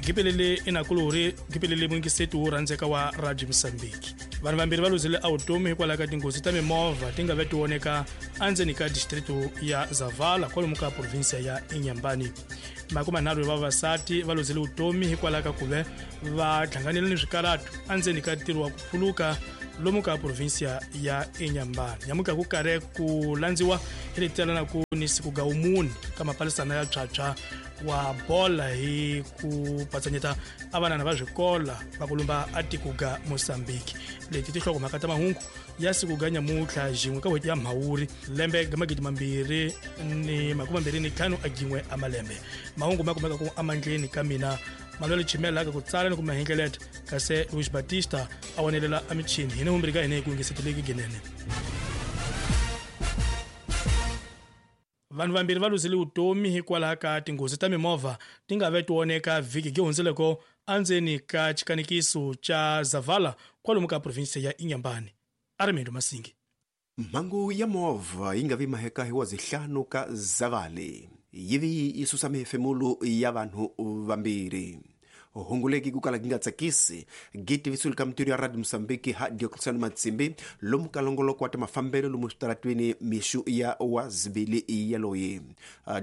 Gipelele inakuluri gipelele mungisetu wo rhandzeka wa Radio Mosambiki. Vanhu vambirhi va luzile awutomi hikwalaho ka tinghozi ta mimovha ti nga ve ti voneka endzeni ka distrito ya Zavala kwalomu ka provinsia ya Inhambane. 30 ya vavasati va luzile vutomi hikwalaho ka ku ve va hlanganile ni swikaratu endzeni ka ntirho wa ku phuluka lomu ka provinsia ya Inhambane. Nyamuka ku karhi ku landziwa hi leti talanaku ni siku ga wumune ka mapalisana ya tshwatshwa wa bola hi ku patsanyeta a vanana va swikola va ku lumba a tiko ga Mozambique. Leti tinhlokomhaka ta mahungu ya siku ga nyamutlha xin'we ka n'hweti ya Mhawuri lembe ga 2025 a gin'we a malembe. Mahungu ma kumeka ku amandleni ka mina Manuel Chimela ka ku tsala ni ku mahengeleta kasi Luis Batista a wonelela a michini hina humbiri ka hina hi ku yingiseteleki ginene. Vanhu vambirhi va luzile vutomi hikwalaho ka tinghozi ta mimovha ti nga ve ti voneka vhiki gi hundzeleko endzeni ka xikanikiso xa Zavala kwalomu ka provinsia ya Inhambane. Armando Masingi. Mhangu ya movha yi nga vi maheka hi wa zihlanu ka Zavale yi vi yi susa mihefemulo ya vanhu vambirhi. Hunguleki ku kala gi nga tsakisi gi tivisiwile ka mintirho ya Radio Mosambiki ha Diocleciano Matsimbi lomu ka longoloko wa ta mafambelo lomu switaratweni mixu ya wa zibili yaloyi.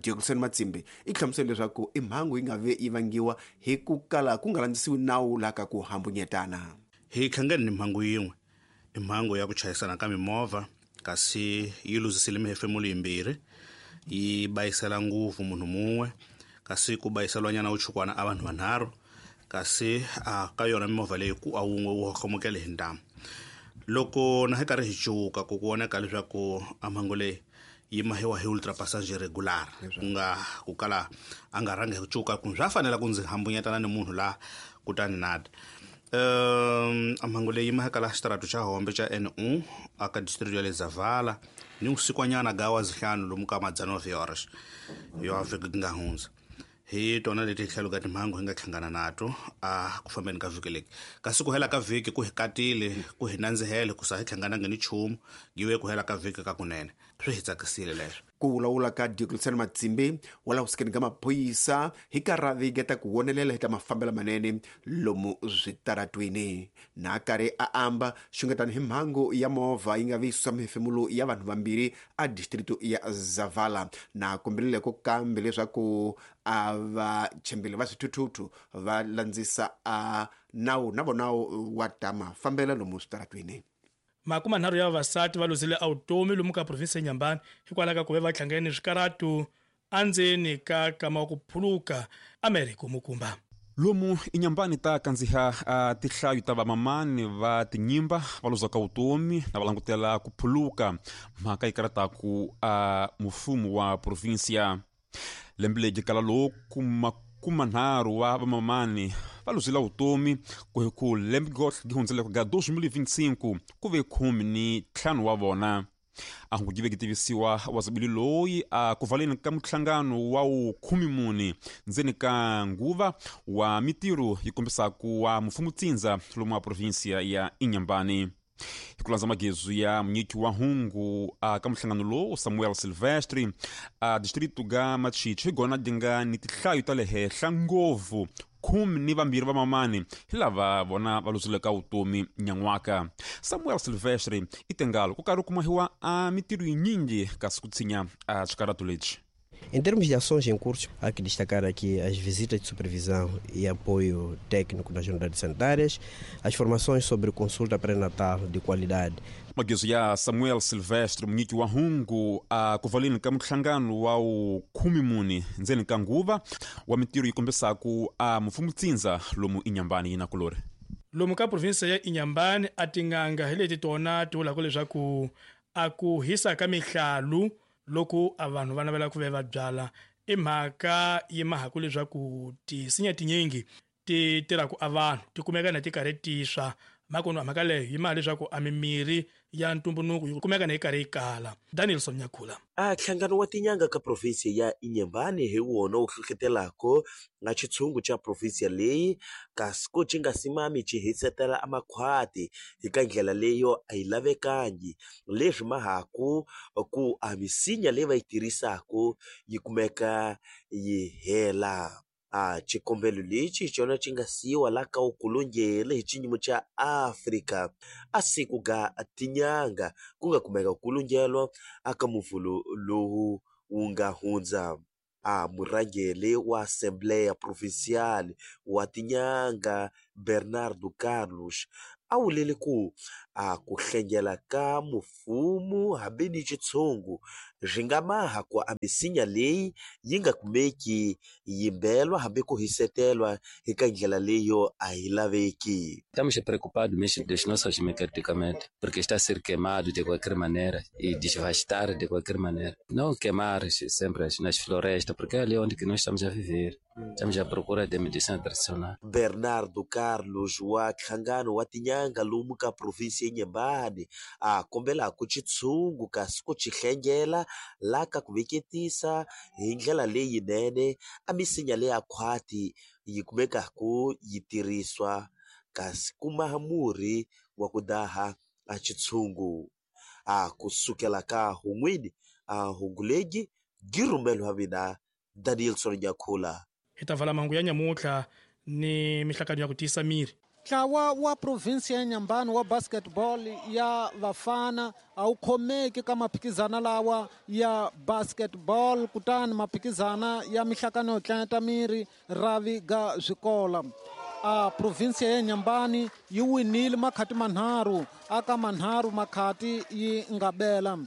Diocleciano Matsimbi i hlamusele leswaku i mhangu yi nga ve yi vangiwa hi ku kala ku nga landzisiwi nawu laha ka ku hambunyetana. Hi hlangane ni mhangu yin'we, i mhangu ya ku chayisana ka mimovha kasi yi luzisile mihefemulo yimbirhi, yi bayisela nguvu munhu mun'we kasi ku bayiselwanyana wuchukwana a vanhu vanharhu kasi a ka yona mimovha leyi ku a wun'we wu hohlomukele hi ntamu. Loko na hi karhi hi cuka ku ku voneka leswaku a mhangu leyi yi mahiwa hi ultra passenger regular ku nga ku kala a nga rhangi hi ku cuka ku swa fanela ku ndzi hambunyetana ni munhu la kutani nada. A mhangu leyi yi maheka la xitaratu xa Hombe xa NU aka district ya le Zavala ni vusikwanyana ga wa zihlanu lomu ka madzana horas yo vhiki nga hundza. Hi tona leti tlhelo ka timhangu hi nga hlangana nato a ku fambeni ka vhiki leki. Kasi ku hela ka vhiki ku hi katile, ku hi nandzihele ku sa hi hlanganangi ni nchumu, giwe ku hela ka vhiki ka kunene. Swi hi tsakisile leswo. Ku vulavula ka Diocleciano Matsimbi wa laha kusikeni ka maphorisa hi karhi ta ku wonelela hi ta mafambelo manene lomu switaratweni. Na karhi a amba xungetano hi mhangu ya movha yi nga vi susa mihefemulo ya vanhu vambirhi a distrito ya Zavala. Na kombelile ko kambe leswaku a vachembeli va swithuthuthu va landzisa a nawu na vona wa ta mafambelo lomu switaratweni. 30 ya vavasati va luzile awutomi lomu ka provinsi ya Inhambane hikwalaho ka ku ve va hlangane ni swikaratu endzeni ka kama wa ku phuluka Americo Mukumba. Lomu Inhambane ta kandziha a tihlayo ta vamamani va tinyimba va luzaka vutomi na va langutela ku phuluka mhaka yi karataku a mufumo wa provinsia. Lembe leri kala loku 30 wa vamamani va luzile vutomi ku hi ku lembe gotlhe gi hundzeleko ga 2025 ku ve 15 wa vona. A hungu gi ve gi tivisiwa wa zabili loyi a ku valeni ka muhlangano wa wu 14 ndzeni ka nguva wa mitirho yi kombisaku wa mufumutindza lomu wa provinsia ya Inhambane. Hi ku landza magezu ya munyiki wa hungu a ka muhlangano lowu Samuel Silvestre a distrito ga Machichi hi gona di nga ni tihlayo ta le henhla ngopfu 12 va mamani hi lava vona va luzileka vutomi nyan'waka. Samuel Silvestre i tengalo ku karhi ku mahiwa a mitirho yinyingi kasi ku tshinya a swikaratu lexi. Em termos de ações em curso, há que destacar aqui as visitas de supervisão e apoio técnico nas unidades sanitárias, as formações sobre consulta pré-natal de qualidade. Magezu ya Samuel Silvestre munyiki wa hungu a kuvaleni ka muhlangano wa wu 14 ndzeni ka nguva wa mitirho yi kombisaku a mufumutindza lomu Inhambane yi na kulori. Lomu ka provinsia ya Inhambane a tin'anga hi leti tona ti vulaka leswaku a ku hisa ka mihlalu loko a vanhu va navela ku ve va byala i mhaka yi mahaku leswaku tisinya tinyingi ti tirhaku a vanhu ti kumeka na ti karhi ti swa makunu mhaka leyo yi maha leswaku a mimirhi ya ntumbuluko yi kumeka na yi karhi yi kala. Danielson Nyakhula. A nhlangano wa tinyanga ka provinsia ya Inhambane hi wona wu hlohlotelako na xitshungu xa provinsia leyi kasi ku ci nga simami ci hisetela a makhwati hi ka ndlela leyo a yi lavekangi leswi mahaku ku a misinya leyi va yi tirhisaku yi kumeka yi hela. A xikombelo lexi hi xona xi nga siyiwa la ka wukulungele hi xiyimo xa Afrika a siku ga tinyanga ku nga kumeka kulungelwa aka muvhulo lowu wu nga hundza. A murhangeri wa Assembleia Provincial wa Tinyanga Bernardo Carlos a vulile ku a ku hlengela ka mufumo hambi ni xitshungu swi nga maha ku a misinya leyi yi nga kumeki yimbelwa hambi ku hisetelwa eka ndlela leyo a yi laveki. Estamos preocupados mesmo das nossas medicamentos, porque está a ser queimado de qualquer maneira e desvastar de qualquer maneira. Não queimar sempre nas florestas, porque é ali onde que nós estamos a viver. Estamos à procura de medicina tradicional. Bernardo Carlos wa nhlangano wa Tinyanga lomu ka provinsi ya Inhambane a kombelaku xitshungu kasi ku xi hlengela la ka ku veketisa hi ndlela leyinene a misinya leya khwati yi kumekaku yi tirhiswa kasi kuma murhi wa ku daha a xitshungu. A kusukela ka hun'wini a hungulegi girumelo wa mina Danielson Nyakhula. Hi ta vala mahungu ya nyamutlha ni mihlakano ya ku tiyisa miri. Ntlawa wa provinsi ya Inhambane wa basketball ya vafana a wu khomeki ka maphikizana lawa ya basketball, kutani maphikizana ya mihlakano yo tlanyata miri ravi ga swikola. A provinsi ya Inhambane yi winile makhati manharhu aka manharhu makhati yi nga bela.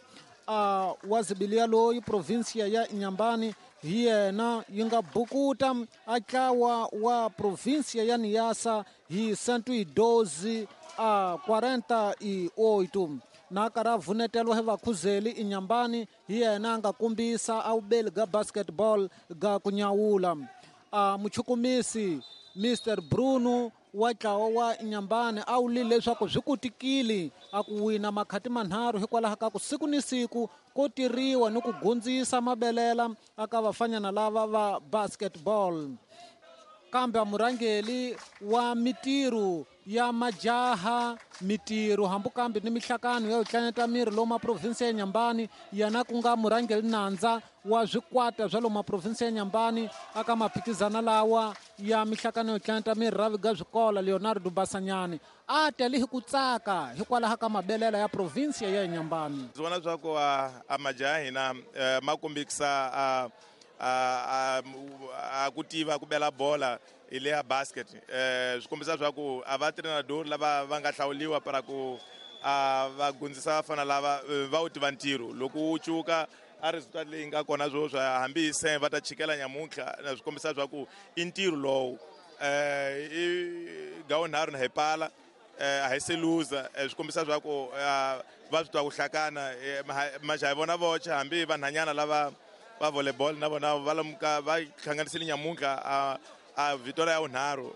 A wazibilia loyi provinsi ya Inhambane hi yena yi nga bukuta a ntlawa wa provinsi ya Niassa hi 112 a 48 na karhi a vuneteliwa hi vakhuzeli Inhambane hi yena a nga kombisa a vubeli ga basketball ga ku nyawula. A muchukumisi Mr Bruno wa ntlawa wa Inhambane a wulile leswaku swi kotekile a ku wina makhati manharhu hikwalaho ka ku siku ni siku ko tirhiwa ni ku gundzisa mabelela aka vafanyana lava va basketball. Kambe a murhangeri wa mitirho ya majaha mitirho hambi kambe ni mihlakano ya ku tlanyata miri lomu provinsi ya Inhambane yena ku nga murhangeri nandza wa swikwata swa lomu provinsi ya Inhambane aka maphikizana lawa ya mihlakano yo tlanyata miri ravi ga swikola Leonardo Basanyane a tele hi ku tsaka hikwalaho ka mabelela ya provinsi ya Inhambane. Ndzi vona swa ku a majaha hina ma kombekisa a ku tiva ku bela bola hi le ya basket. Swi kombisa swa ku a va treinador lava va nga hlawuliwa para ku va gundzisa vafana lava va wu tiva ntirho loko wu cuka a resultat leyi nga kona sweswi hambi hi se va ta chikela nyamuntlha na swi kombisa swa ku i ntirho lowu i gawunharhu na hi pala a hi se luza. Swi kombisa swa ku va swi twa ku hlakana majaha vona voxe hambi vanhanyana lava va volleyball na vona va lamuka va hlanganisile nyamuntlha a victoria ya vunharhu.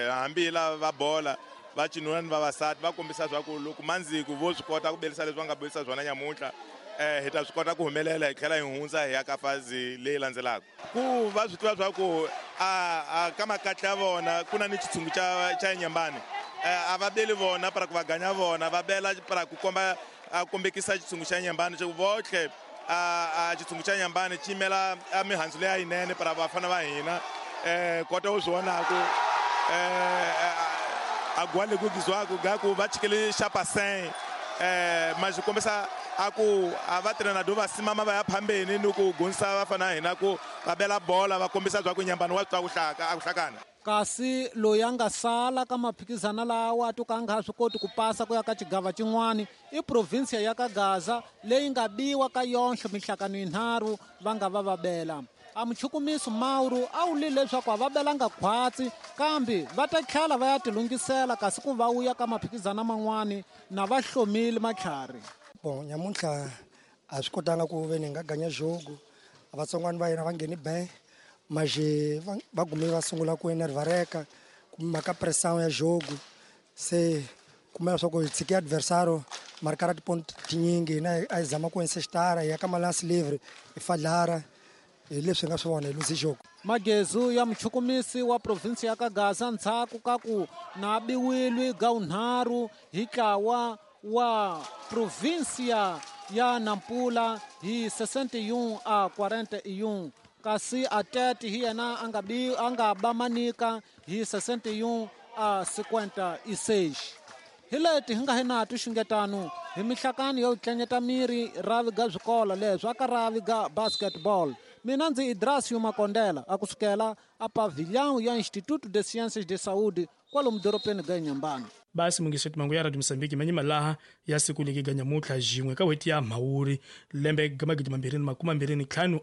Hambi lava va bola va cinuna ni vavasati va kombisa swa ku loko mandziku vo swi kota ku belisa leswi va nga belisa swona nyamuntlha hi ta swi kota ku humelela hi tlhela hi hundza hi ya ka fazi leyi landzelaka. Ku va swi tiva swa ku a ka makatla ya vona ku na ni xitshungu xa Inhambane a va beli vona para ku va ganya vona va bela para ku komba a kombekisa xitshungu xa Inhambane xo votlhe a xitshungu xa Inhambane xi yimela a mihandzu leya yinene para vafana va hina. Kota u swi vonaku a gwale ku gizwaku gaku va chikele xa paseng ma xi kombisa a ku a va treinador va simama va ya phambeni ni ku gundzisa vafana hina ku va bela bola va kombisa swa ku Inhambane wa swi twa ku hlakana. Kasi loyi a nga sala ka maphikizana lawa to ka a nga swi koti ku pasa ku ya ka xigava xin'wani i provinsi ya ka Gaza leyi nga biwa ka yonhle mihlakano yinharhu va nga va va bela. A muchukumisi Mauro a wulile leswaku a va belanga khwatsi kambe va ta tlhela va ya tilunghisela kasi ku va wuya ka maphikizana man'wani na va hlomile matlhari. Bon, nyamuntlha a swi kotanga ku ve ni nga ganya jogo vatsongwana va hina va ngheni be maje va gume va sungula ku enervareka mhaka pressão ya jogo se kumela swa ku hi tshike adversário markara tiponto tinyingi hina a hi zama ku insistara hi ya ka malance livre hi fadlara hi leswi hi nga swi vona hi luzi jogo. Magezu ya muchukumisi wa provinsi ya ka Gaza ndzhaku ka ku na biwilwi gawunharhu hi ntlawa wa provinsia ya Nampula hi 61 a 41. Kasi Atete hi yena a nga ba Manica hi 61 a 56. Hi leti hi nga hi na tixungetano hi mihlakano yo tlanyeta miri ravi ga swikolo leswi aka ravi ga basketball. Mina ndzi Idrasio Makondela a kusukela a pavilhão ya Instituto de Ciências de Saúde kwalomu doropeni ga Inhambane. Basi mungiseti mangu ya Radio Mosambiki manyima laha ya siku leki ga nyamutlha jin'we ka n'hweti ya Mhawuri lembe ga 2025.